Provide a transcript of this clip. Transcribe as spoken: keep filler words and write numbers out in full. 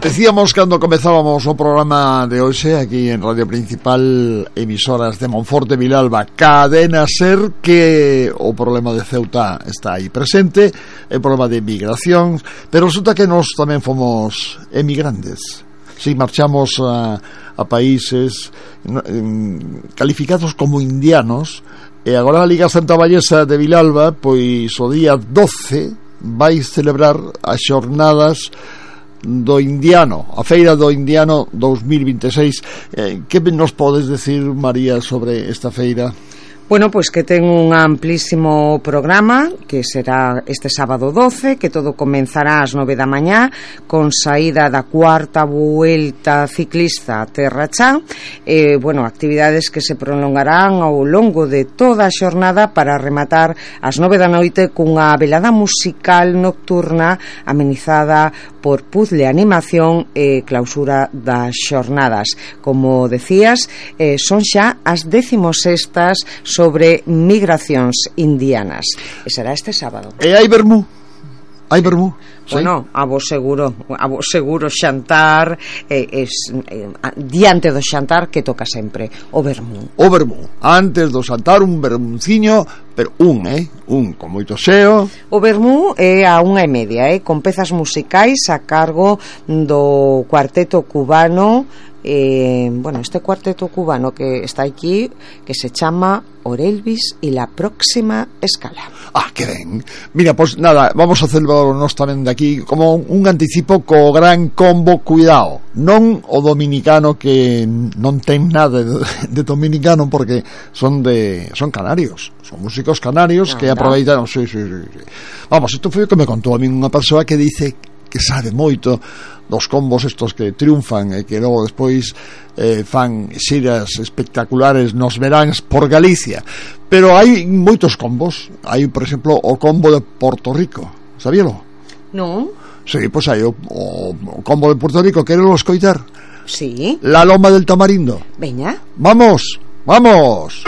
Decíamos cando comezábamos o programa de hoxe aquí en Radio Principal, emisoras de Monforte, Vilalba, Cadena Ser, que o problema de Ceuta está aí presente, o problema de migración, pero resulta que nós tamén fomos emigrantes. Si marchamos a, a países calificados como indianos, e agora a Liga Santa Vallesa de Vilalba, pois o día doce vai celebrar as xornadas do Indiano, a Feira do Indiano dos mil vinte e seis. Eh, que nos podes decir, María, sobre esta feira? Bueno, pois que ten un amplísimo programa que será este sábado doce, que todo comenzará ás nove da mañá con saída da cuarta vuelta ciclista a Terra Chá, eh, bueno, actividades que se prolongarán ao longo de toda a xornada para rematar ás nove da noite cunha velada musical nocturna amenizada por puzzle, animación e clausura das xornadas. Como decías, eh, son xa as decimosextas sobre migracións indianas. E será este sábado. E hai vermú? Hai vermú? Bueno, a vos seguro, a vos seguro xantar, eh, es, eh, diante do xantar que toca sempre o vermú. O vermú, antes do xantar un vermuciño, pero un, eh, un con moito xeo. O vermú é a unha e media, eh, con pezas musicais a cargo do cuarteto cubano. Eh, bueno, este cuarteto cubano que está aquí, que se chama Orelvis y la próxima escala. Ah, que ben. Mira, pois pues, nada, vamos a celebrar nós tamén de aquí como un anticipo co gran combo. Cuidado, non o dominicano, que non ten nada de, de dominicano, porque son de son canarios, son músicos canarios. No, que aproveitaron, sí, sí, sí, sí. Vamos, isto foi o que me contou a mí unha persoa que dice que sabe moito dos combos estos que triunfan e que logo despois eh, fan xiras espectaculares nos veráns por Galicia. Pero hai moitos combos. Hai, por exemplo, o combo de Porto Rico. Sabíalo? Non. Sí, pois hai o, o, o combo de Porto Rico. Querelo escoitar? Sí. La Loma del Tamarindo. Veña. Vamos, vamos.